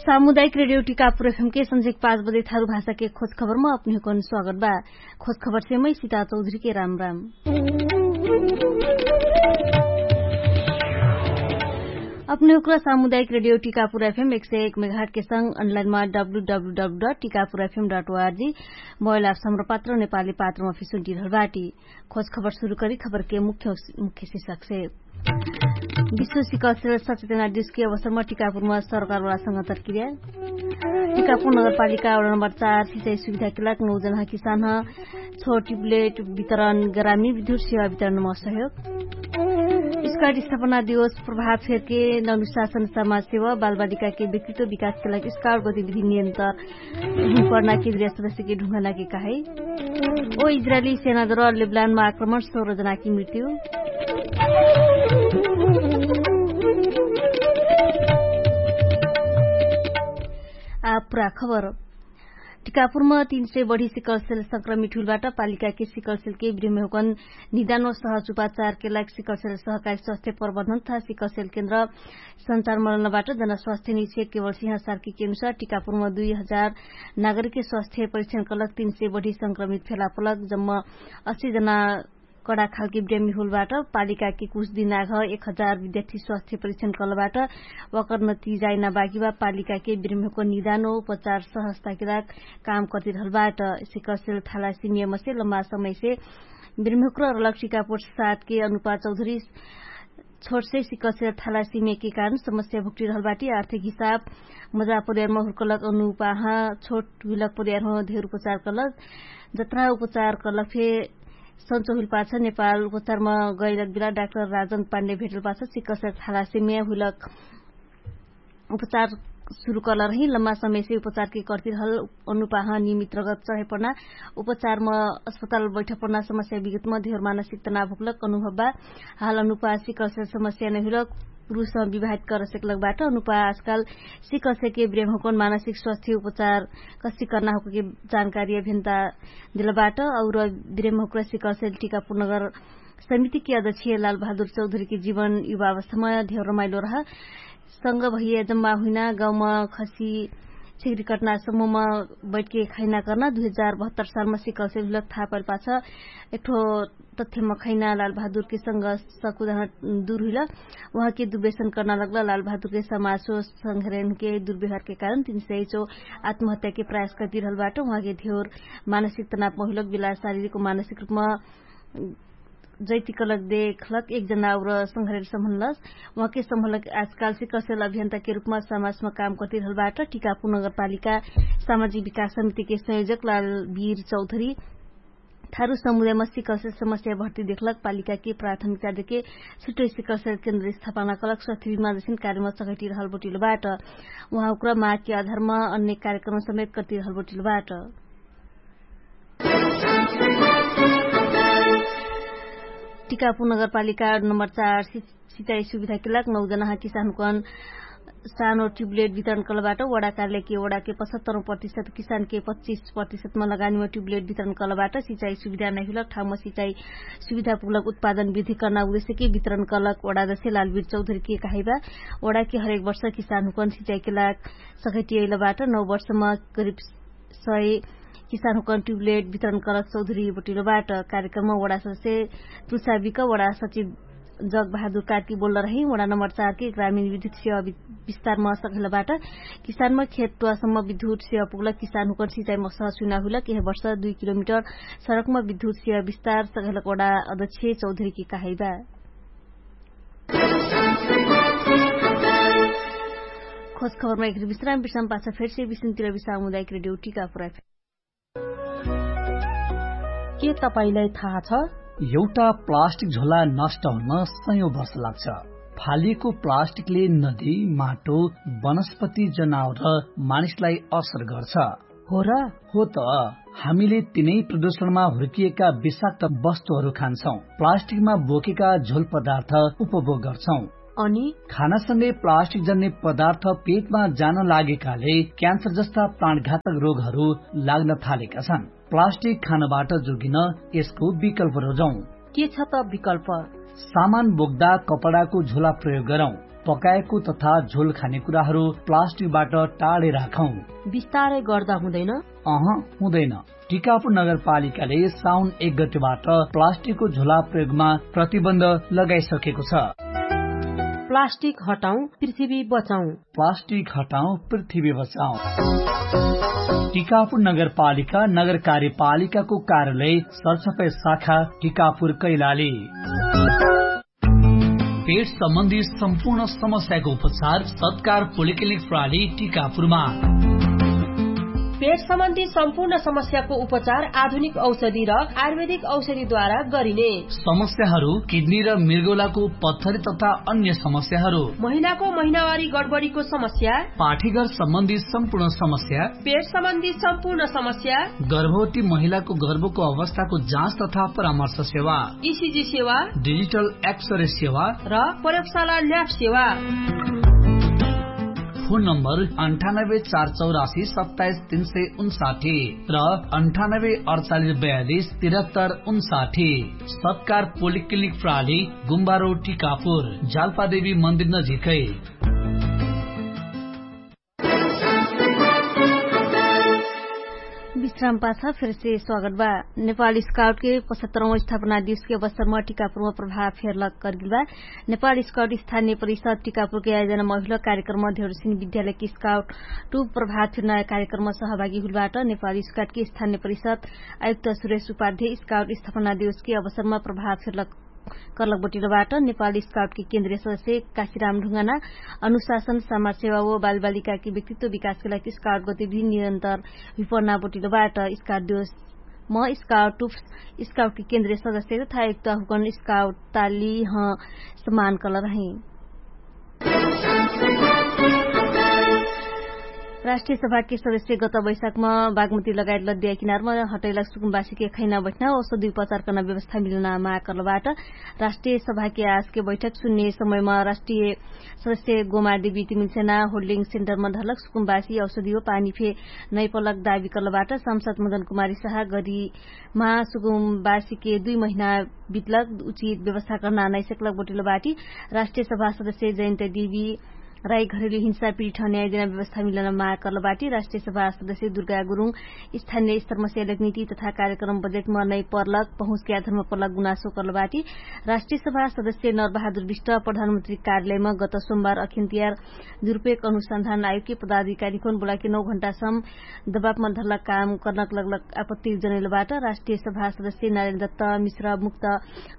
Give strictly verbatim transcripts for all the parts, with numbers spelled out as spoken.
सामुदायिक रेडियो टिकापुर एफएम के संझेक पाँच बजे थारु भाषा के खोज खबर म अपने हुकन स्वागत बा। खोज खबर से मै सीता चौधरी के राम राम। अपने हुकरा सामुदायिक रेडियो टिकापुर एफएम एक सय एक मेघाट के संग अनलाइन मा W W W dot Tikapur FM dot O R G mobile app Hamro Patro Nepali पात्र मा फिसुन टिरहल बाटी। खोज खबर सुरु करी खबर के मुख्य मुख्य शीर्षक से। विश्व सिकल सेल सचेतना दिवस के अवसर मा टिकापुर मा सरकार वाला संगत तर्किर्या। टिकापुर नगरपालिका वडा नम्बर चार सिचाइ सुविधा के लाग नौ जना किसान ह। छोटी प्लेट वितरण ग्रामी विद्युत सेवा वितरण मा सहयोग। स्काट स्थापना दिवस प्रभाव फेर के ननुशासन समाज सेवा बालबालिका के व्यक्तित्व विकास के लाग स्काट गतिविधि नियन्त्र हुँपना के द्रिया सदस्य के ढुङ्गना के कहाई। ओ इजरायली सेना दर लेबलान मा आक्रमण सौर जना कि मृत्यु। आ पुरा खबर। टिकापुर म तीन सय बढी सिकलसेल संक्रमित हुइलबाट पालिका के सिकलसेल के ब्रिमेहुकन निदान व सहज उपाचार के लाग सिकलसेल सहकारी स्वास्थ्य प्रबन्धन तथा सिकलसेल केन्द्र सञ्चार मलनबाट जनस्वास्थ्य निक्षेप केवल सिंह सार्की के अनुसार टिकापुर म दुई हजार नागरिक के स्वास्थ्य परीक्षण कलक तीन सय बढी संक्रमित फेला पलक जम्म अस्सी जना कडाखालके ब्रेमी होलबाट पालिकाके कुछ दिनाघ एक हजार विद्यार्थी स्वास्थ्य परीक्षण कलबाट। वकर नतिजाइना बाकी बा पालिकाके ब्रेमीको निदान उपचार सहस्ताके लाग काम कर्तिरहलबाट। सिकसेल थालासिमिया मसे लम्बा समयसे ब्रेमीको र लक्ष्मीका पोट सातके अनुपा चौधरी छोटसे सिकसेल थालासिमियाके कारण समस्या भुक्टिरहलबाटी आर्थिक हिसाब मजा परिवारमा हुर्कलक अनुपाहा छोट हुइलक परिवारहो धेर उपचार कलक जत्रा उपचार कलक फे सन्चो हुइल पाछ नेपाल उपचारमा गैलक बिला डाक्टर राजन पाण्डे भेटल पाछ सिकसेल थालासिमिया हुइलक उपचार सुरु कलरही लम्बा समयसे उपचारके कर्तिरहल अनुपाह नियमित रगत चढेपना उपचारमा अस्पताल बैठपना समस्या विगतमा धेर मानसिक तनाव हुक्लक अनुभव बा। हाल अनुपाह सिकसेल समस्या नहिलक पुरुष विवाहित कर सेकलक बाट अनुपाह आजकाल सिकसेके ब्रेम हुकन मानसिक स्वास्थ्य उपचार कस्ति कर्ना हुकके जानकारी अभियन्ता दिलबाट। और ब्रेम हुक्र सिकसेल टिकापुर नगर समितिके अध्यक्ष लाल बहादुर चौधरीके जीवन युवावस्थामा धेर रमाइलो रह संग भैया जम्मा हुइना गाउँमा खसी छिगरी कटना समूहमा बैठके खैना कर्ना दुई हजार बहत्तर सालमा सिकलसेल हुलक थाहा पैल पाछ एकठो तथ्यमा खैना लाल बहादुरके संग सकुदह दुर हुइल। उहाँके दुबेसन कर्ना लग्ल लाल बहादुरके समासो संघरेनके दुर्व्यवहारके कारण तीन सय चो आत्महत्याके प्रयास कर्तिरहलबाट उहाँके धेर मानसिक तनावमा हुइलक बिला शारीरिक मानसिक रूपमा जैतिकलक देखलक एक जनावर संघरेर सम्हलस। उहाँके सम्हलक आजकाल सिकसेल अभियन्ताके रूपमा समाजमा काम कर्तिरहलबाट टिकापुर नगरपालिका सामाजिक विकास समितिके संयोजक लाल वीर चौधरी थारु समुदायमा सिकसेल समस्या भर्ती देखलक पालिकाके प्राथमिकता देके छुट्टै सिकसेल केन्द्र स्थापना कलक स्वास्थ्य विमार्गसिन कार्यमा चघैटिरहल बोटिलबाट। उहाँ उक्र मागके आधारमा अन्य कार्यक्रम समेत कर्तिरहल बोटिलबाट। टिकापुर नगरपालिका नम्बर चार सिचाइ सुविधाके लाग नौ जनाहा किसानकन सानो ट्युबलेट वितरण कलबाट वडा कार्यालयके वडाके पचहत्तर प्रतिशत किसानके पच्चिस प्रतिशतमा लगानीमा ट्युबलेट वितरण कलबाट सिचाइ सुविधा नहिलक ठाउँमा सिचाइ सुविधा पुगलक उत्पादन वृद्धि कर्ना उद्देश्यके वितरण कलक वडा दशे लालवीर चौधरीके कहाइबा। वडाके हरेक वर्ष किसानकन सिचाइके लाग सखैटियैलबाट नौ वर्षमा करिब सय किसानहुकन ट्युबलेट वितरण कलक चौधरी बोटिलोबाट। कार्यक्रममा वडा सदस्य तुलसाविक वडा सचिव जग बहादुर कार्की बोल्ल रही वडा नम्बर चारके ग्रामीण विद्युत सेवा विस्तारमा सघैलबाट। किसानमा खेतत्वासम्म विद्युत सेवा पुगलक किसानहुकन सिचाइमा सहसुइना हुइलक यह वर्ष दुई किलोमिटर सडकमा विद्युत सेवा विस्तार सघैलक वडा अध्यक्ष चौधरीके कहाइबा। खोज खबरमा एक विश्राम विश्राम पाछ फेर्से विश्रामतिर विश्राम हुँदा एक रेडियो टिका पुरा। के तपाईंलाई थाहा छ? एउटा प्लास्टिक झोला नष्ट हुन सयौं वर्ष लाग्छ। फालिएको प्लास्टिकले नदी, माटो, वनस्पति, जनावर र मानिसलाई असर गर्छ। हो र? हो त। हामीले तिनै प्रदूषणमा हुर्किएका विषाक्त वस्तुहरू खान्छौं, प्लास्टिकमा बोकेका झोल पदार्थ उपभोग गर्छौं। अनि खानासँगै प्लास्टिक जन्ने पदार्थ पेटमा जान लागेकाले क्यान्सर जस्ता प्राणघातक रोगहरू लाग्न थालेका छन्। प्लास्टिक खानबाट जोगिन यसको विकल्प रोजौं। के छ त विकल्प? सामान बोक्दा कपडाको झोला प्रयोग गरौं। पकाएको तथा झोल खाने कुराहरू प्लास्टिकबाट टाढै राखौँ। विस्तारै गर्दा हुँदैन? अह, हुँदैन। टिकापुर नगरपालिकाले साउन एक गतेबाट प्लास्टिकको झोला प्रयोगमा प्रतिबन्ध लगाइसकेको छ। प्लास्टिक हटाउँ, पृथ्वी बचाउँ। प्लास्टिक हटाउँ, पृथ्वी बचाउँ। टिकापुर नगरपालिका नगर कार्यपालिकाको कार्यालय सरसफाइ शाखा टिकापुर कैलाली। पेट सम्बन्धी सम्पूर्ण समस्याको उपचार सत्कार पोलिक्लिनिक प्रणाली टिकापुरमा। पेट सम्बन्धी सम्पूर्ण समस्याको उपचार आधुनिक औषधि र आयुर्वेदिक औषधिद्वारा गरिने। समस्याहरू किडनी र मृगौलाको पत्थरी तथा अन्य समस्याहरू। महिनाको महिनावारी गडबडीको समस्या। पाठीघर सम्बन्धी सम्पूर्ण समस्या। पेट सम्बन्धी सम्पूर्ण समस्या। गर्भवती महिलाको गर्भको अवस्थाको जाँच तथा परामर्श सेवा। इसिजी सेवा। डिजिटल एक्सरे सेवा। र प्रयोगशाला ल्याब सेवा। फोन नम्बर अन्ठानब्बे चार चौरासी सत्ताइस तीन सय उन्साठी र अन्ठानब्बे अडचालिस बयालिस तिरहत्तर उन्साठी। सत्कार पोलिक्लिनिक प्रणाली, गुम्बारो टिकापुर, जालपादेवी मन्दिर नजिकै। विश्राम पाछा फेरसे स्वागत बा। नेपाल स्काउटके पचहत्तरौं स्थापना दिवसके अवसरमा टिकापुरमा प्रभाव फेरलक करगिल बा। नेपाल स्काउट स्थानीय परिषद टिकापुरके आयोजनामा हुइल कार्यक्रम धेरसिन विद्यालयके स्काउट टुप प्रभाव फेर्ना कार्यक्रम सहभागी हुइल बाट। नेपाल स्काउटके स्थानीय परिषद आयुक्त सुरेश उपाध्याय स्काउट स्थापना दिवसके अवसरमा प्रभाव फेरलक करलक बटिलो बाट। नेपाल स्काउटके केन्द्रीय सदस्य काशीराम ढुङ्गाना अनुशासन समाजसेवा व बालबालिकाके व्यक्तित्व विकासके लागि स्काउट गतिविधि निरन्तर विपन्ना बटिलो बाट। स्काउट दिवस म स्काउट टुप स्काउटके केन्द्रीय सदस्य तथा आयुक्त हुकन स्काउट ताली ह सम्मान करल रही। राष्ट्रिय सभाके सदस्य गत बैशाखमा बागमती लगायत लद्दिया किनारमा हटैला सुकुम्बासीके खैना बैठना औषधि उपचार कर्ना व्यवस्था मिलना माग कर्लबाट। राष्ट्रिय सभाके आजके बैठक सुन्ने समयमा राष्ट्रिय सदस्य गोमार्दी बिति मिल्सेना होल्डिङ सेन्टरमा धर्लक सुकुम्बासी औषधि हो पानी फे नैपलक दाबी कर्लबाट। संसद मदन कुमारी सहा गरी महासुकुम्बासीके दुई महिना बितलक उचित व्यवस्था कर्ना नैसेकलक बोटिलो बाटी। राष्ट्रिय सभा सदस्य जयन्त देवी राई घरेली हिंसा पिठन्याय देना व्यवस्था मिलन माग कर्लबाटी। राष्ट्रिय सभा सदस्य दुर्गा गुरुङ स्थानिय स्तरमस्या लकनिति तथा कार्यक्रम बजेटमा नै पर्लक पहुँचके आधर्म पर्लक गुनासो कर्लबाटी। राष्ट्रिय सभा सदस्य नरबहादुर विष्ट प्रधानमन्त्री कार्यालयमा गत सोमबार अखिन्तियार दुरुपयोग अनुसन्धान आयोगके पदाधिकारी कोन बोलाके नौ घण्टासम दबापमा धर्लक काम कर्नक लगलक आपत्ति जनैलबाट। राष्ट्रिय सभा सदस्य नारेन्द्र दत्त मिश्र मुक्त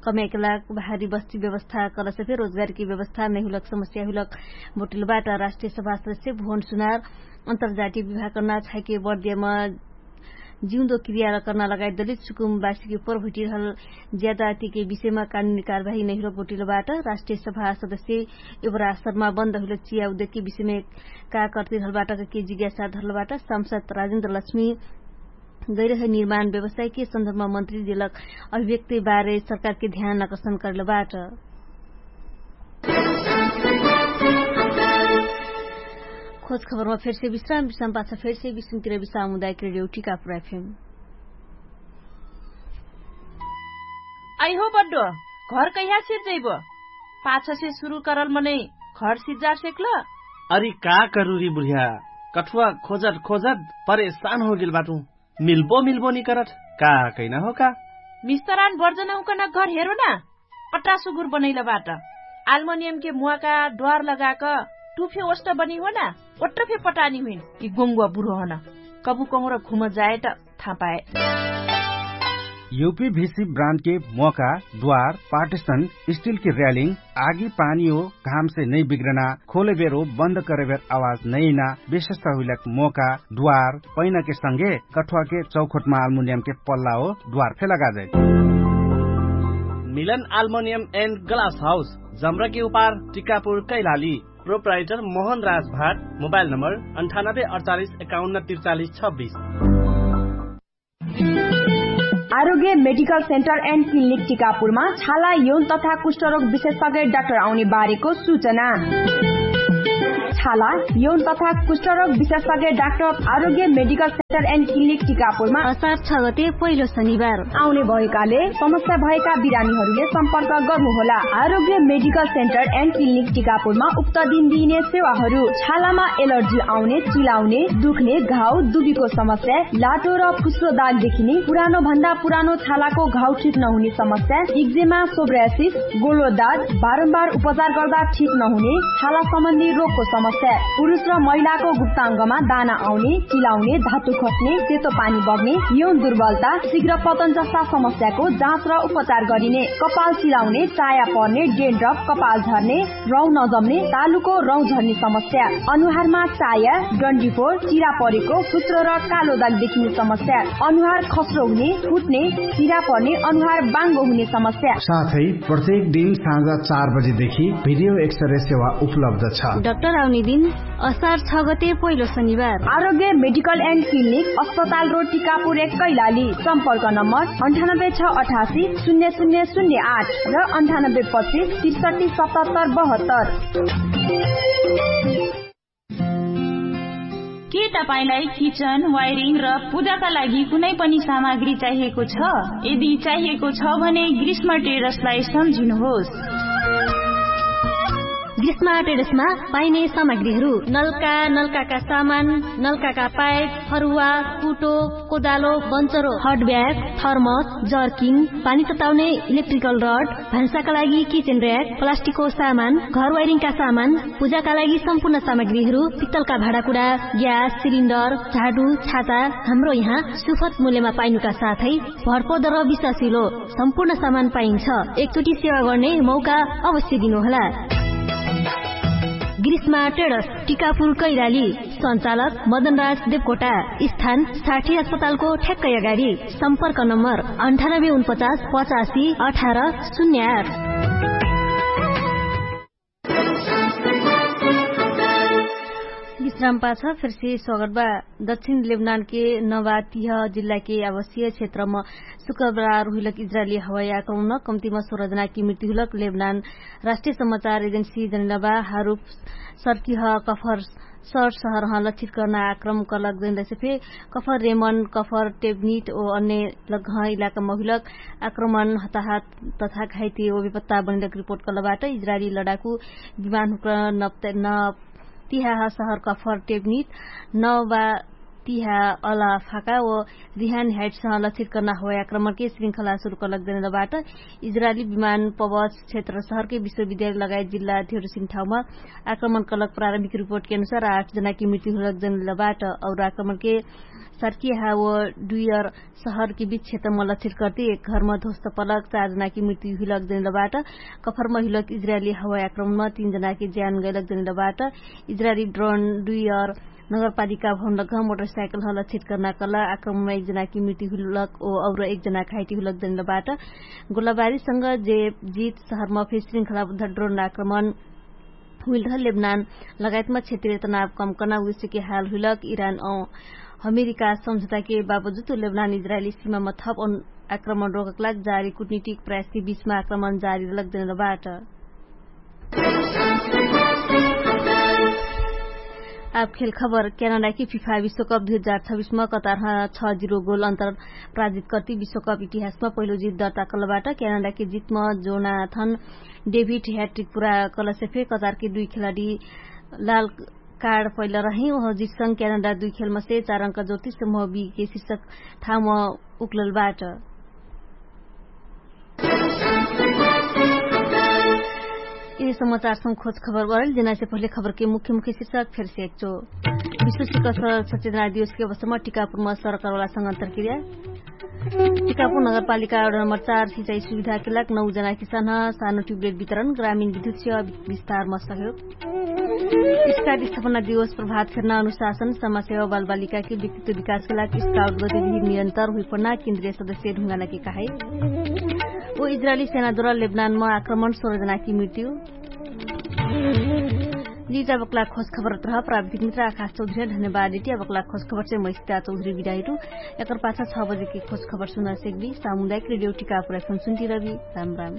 कम्याकेला भारी बस्ती व्यवस्था कलसे फे रोजगारके व्यवस्था नैहुलक समस्या हुलक बोटिलबाट। राष्ट्रिय सभा सदस्य भुवन सुनार अन्तर्जातिय विभाग कर्ना छाइके बर्दियामा जिउँदो क्रियार कर्ना लगायत दलित सुकुमबासीके प्रभुटिरहल ज्यादातिके विषयमा कानुनी कारवाही नैहुलक बोटिलबाट। राष्ट्रिय सभा सदस्य एबरा सरमा बन्द हुलक चिया उद्योगके विषयमे का कर्तिरहलबाट के जिज्ञासा धर्लबाट। संसद राजेन्द्र लक्ष्मी गैरह निर्माण व्यवसायके सन्दर्भमा मन्त्री देलक अभिव्यक्ति बारे सरकारके ध्यान आकर्षण कर्लबाट। खोज खबरमा फेरसे विश्राम विश्राम पाछा फेरसे विश्रामतिर विश्राम हुँदायक रेडियो टिकापुर एफएम। आइहो बड्डो, घर कैहा सिर्जैबो? पाछसे सुरु करल मनै घर सिज्जार सेक्ल? अरि का करुरी बुढिया, कठुवा खोजत खोजत परेशान होगेल बाटु। मिल्बो मिल्बो निकरत का कैना हो का? मिस्तरान बर्जन हुकन घर हेरो ना। अट्टा सुगुर बनैलबाट आल्मोनियमके मुवाका ड्वार लगाक टुफे ओष्ट बनी हो ना। ओट्ट फे पटानी हुइन कि गोङ्गुवा बुढो हन। कबु कहुँर घुम जाए त थाहा पाए। युपी भिसी ब्रान्डके मोका द्वार पार्टिसन स्टिलके र्यालिङ आगी पानी हो घामसे नै बिग्रना खोले बेरो बन्द करे बेर आवाज नैना विशेषता हुइलक मोका द्वार पैनाके संगे कठुवाके चौखोटमा आल्मुनियमके पल्ला हो द्वार फे लगाजै। मिलन आल्मुनियम एन्ड ग्लास हाउस जम्रके उपार टिकापुर कैलाली। प्रोप्राइटर मोहन राज भाट। मोबाइल नम्बर अन्ठानब्बे अडचालिस एकाउन्न त्रिचालिस छब्बिस। आरोग्य मेडिकल सेन्टर एन्ड क्लिनिक टिकापुरमा छाला यौन तथा कुष्ठरोग विशेषज्ञ डाक्टर आउने बारेको सूचना। छाला, यौन तथा कुष्ठरोग विशेषज्ञ डाक्टर आरोग्य मेडिकल सेन्टर एन्ड क्लिनिक टिकापुरमा असार छ गते पहिलो शनिबार आउने भएकाले समस्या भएका बिरामीहरूले सम्पर्क गर्नुहोला। आरोग्य मेडिकल सेन्टर एन्ड क्लिनिक टिकापुरमा उक्त दिन दिइने सेवाहरू छालामा एलर्जी आउने, चिलाउने, दुख्ने, घाउ, दुबीको समस्या, लाटो र फुस्रो दाग देखिने, पुरानो भन्दा पुरानो छालाको घाउ ठिक नहुने समस्या, इक्जेमा, सोब्रासिस, गोलो दाग, बारम्बार उपचार गर्दा ठिक नहुने छाला सम्बन्धी रोगको समस्या, पुरुष र महिलाको गुप्ताङ्गमा दाना आउने, चिलाउने, धातु खस्ने, सेतो पानी बग्ने, यौन दुर्बलता, शीघ्र पतन जस्ता समस्याको जाँच र उपचार गरिने, कपाल चिलाउने, चाया पर्ने, डेन्ड्रप, कपाल झर्ने, रौँ नजम्ने, तालुको रौँ झर्ने समस्या, अनुहारमा चाया, डन्डीफोर, चिरा परेको, फुस्रो र कालो दाग देखिने समस्या, अनुहार खस्रो हुने, फुट्ने, चिरा पर्ने, अनुहार बाङ्गो हुने समस्या। साथै प्रत्येक दिन साँझ चार बजेदेखि भिडियो एक्सरे सेवा उपलब्ध छ। डाक्टर आउने दिन असार छ गते पहिलो शनिबार। आरोग्य मेडिकल एन्ड क्लिनिक, अस्पताल रोड, टिकापुर एक, कैलाली। सम्पर्क नम्बर अन्ठानब्बे छ अठासी शून्य शून्य शून्य आठ र अन्ठानब्बे पच्चिस त्रिसठी सतहत्तर बहत्तर। के तपाईंलाई किचन, वायरिङ र पूजाका लागि कुनै पनि सामग्री चाहिएको छ? यदि चाहिएको छ भने ग्रीष्म ट्रेडर्सलाई सम्झिनुहोस्। ग्रीष्म ट्रेडर्समा पाइने सामग्रीहरू: नलका, नलकाका सामान, नलकाका पाइप, फरुवा, कुटो, कोदालो, बन्चरो, हट ब्याग, थर्मस, जर्किङ, पानी तताउने इलेक्ट्रिकल रड, भान्साका लागि किचेन र्‍याक, प्लास्टिकको सामान, घर वायरिङका सामान, पूजाका लागि सम्पूर्ण सामग्रीहरू, पित्तलका भाँडाकुँडा, ग्यास सिलिन्डर, झाडु, छाता, हाम्रो यहाँ सुपथ मूल्यमा पाइनुका साथै भरपर्दो र विश्वासिलो सम्पूर्ण सामान पाइन्छ। एकचोटि सेवा गर्ने मौका अवश्य दिनुहोला। ग्रीष्मा ट्रेडर्स, टिकापुर कैलाली। सञ्चालक मदनराज देवकोटा। स्थान साठी अस्पतालको ठ्याक्कै अगाडि। सम्पर्क नम्बर अन्ठानब्बे उनपचास पचासी अठार शून्य आठ। विश्राम पाछ फेरसे स्वागत बा। दक्षिण लेबनानके नवा तिह जिल्लाके आवासीय क्षेत्रम शुक्रबार हुइलक इजरायली हवाई आक्रमणम कम्तिम सोह्र जनाके मृत्यु हुइलक। लेबनान राष्ट्रिय समाचार एजेन्सी जनैलबा हारुफ सर्किह कफर सर सहरह लक्षित कर्ना आक्रमण कलक जनैलसे फे कफर रेमन कफर टेबनिट ओ अन्य लगह इलाकाम हुइलक आक्रमण हताहत तथा घाइते ओ बेपत्ता बनैलक रिपोर्ट कलबाट। इजरायली लडाकु विमान हुक्र नप्त न तिहा ह सहर कफर टेबनिट नवा तिहा अला फाका ओ रिहान ह्याइटसह लक्षित कर्ना हवाई आक्रमणके श्रृङ्खला सुरु कलक जनैलबाट। इजरायली विमान पवच क्षेत्र सहरके विश्वविद्यालय लगायत जिल्ला धेरोसिन ठाउँमा आक्रमण कलक प्रारम्भिक रिपोर्टके अनुसार आठ जनाके मृत्यु हुइलक जनैलबाट। और आक्रमणके सर्किहा ओ डुयर सहरके बिच क्षेत्रम लक्षित कर्ति एक घरम ध्वस्त पलक चार जनाके मृत्यु हुइलक जनैलबाट। कफरम हुइलक इजरायली हवाई आक्रमणम तीन जनाके ज्यान गैलक जनैलबाट। इजरायली ड्रोन डुयर नगरपालिका भवन लगह मोटरसाइकलह लक्षित कर्ना कला आक्रमणम एक जनाके मृत्यु हुइलक ओ और एक जना घाइते हुइलक जनैलबाट। गोलाबारीसँग जे जित सहरम फे श्रृङ्खलाबद्ध ड्रोन आक्रमण हुइलरह लेबनान लगायतम क्षेत्रीय तनाव कम कर्ना उद्देश्यके हाल हुइलक। इरान औ अमेरिका सम्झौताके बाबजुद लेबनान इजरायली सिमाम थप आक्रमण रोकक लाग जारी कुटनिटिक प्रयासके बिचमा आक्रमण जारी रहलक जनैलबाट। आब खेल खबर। क्यानाडाके फिफा विश्वकप दुई हजार छब्बिसमा कतारह छ जिरो गोल अन्तर पराजित कर्ति विश्वकप इतिहासमा पहिलो जित दर्ता कलबाट। क्यानाडाके जितमा जोनाथन डेभिड ह्याट्रिक पुरा कलसे फे कतारके दुई खेलाडी लाल कार्ड पैला रहे। ओह जितसँग क्यानाडा दुई खेलमसे चार अंक जोर्ति समूह बीके शिर्षक ठाउँमा उक्ललबाट। यिनी समाचारसँग खोज खबर बरल जेनासे पहिले खबरके मुख्य मुख्य शिर्षक फेरसे एकचो। विश्व शिखर सचेतना दिवसके अवसरमा टिकापुरमा सरकारवाला संगन्तर क्रिया। टिकापुर नगरपालिका नम्बर चार सिचाइ सुविधाके लाग नौ जना किसानह सानो ट्युबलेट वितरण ग्रामीण विद्युत सेवा विस्तारमा सहयोग। स्काउट स्थापना दिवस प्रभात फेर्ना अनुशासन समाजसेवा बालबालिकाके व्यक्तित्व विकासके लाग स्काउट गतिविधि निरन्तर हुइपर्ना केन्द्रीय सदस्य ढुङ्गानाके कहाइ। ओ इजरायली सेनाद्वारा लेबनानमा आक्रमण सोह्र जनाकी मृत्यु। जिटा बक्ला खोज खबर तरह प्राविधिक मित्र आकाश चौधरी धन्यवाद इटिया बक्ला खोज खबर चाहिँ मैसिता चौधरी बिदाइटु। एकर पाछा छ बजेकी खोज खबर सुना सेक्बी। सामुदायिक रेडियो टिकापुर एफएम सुन्टी रबी। राम राम।